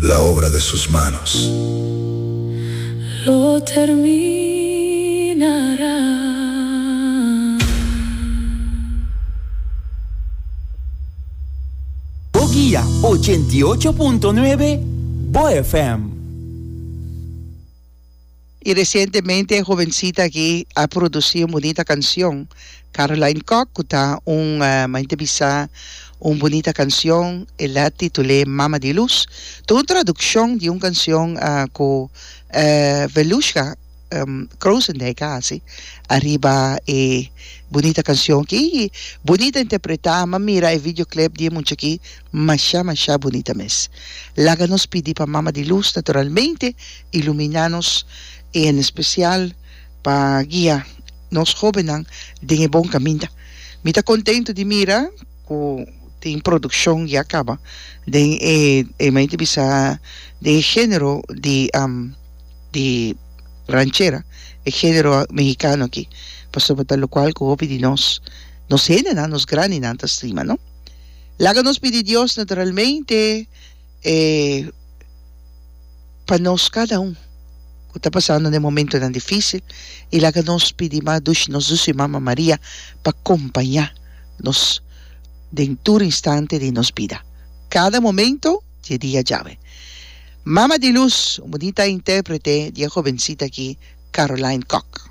La obra de sus manos. Lo terminará. Bo guia 88.9 Bo FM. Y recientemente e jovencita aki a produci un bunita cancion, Caroline Kock, cu ta un, mi ta bisa, un bunita cancion, el a titul'e Mama di Luz. Ta un traduccion di un cancion cu Velushka Krozendijk a haci ariba e bunita cancion aki y bunita interpreta, mi a mira e videoclip di e mucha aki, masha masha bunita mes. Laga nos pidi pa Mama di Luz naturalmente Iluminá nos i en espesial pa guia nos hóbennan den e bon kaminda. Mi ta kontentu di mira ku tin produkshon ya kaba den e e mi ta bisa den e género di di ranchera, e género mehikano aki, pasobra ta lokual ku hopi di nos nos hendenan, nos grandinan ta stima, no? Laga nos pidi Dios naturalmente e. Pa nos kada un ku ta pasando den momentonan difísil i laga nos pidi mas dushi nos dushi Mama Maria pa kompañá nos den tur instante di nos bida, kada momento di e dia djawe. Mama di Luz, un bunita intérprete di e hobensita aki, Caroline Kock.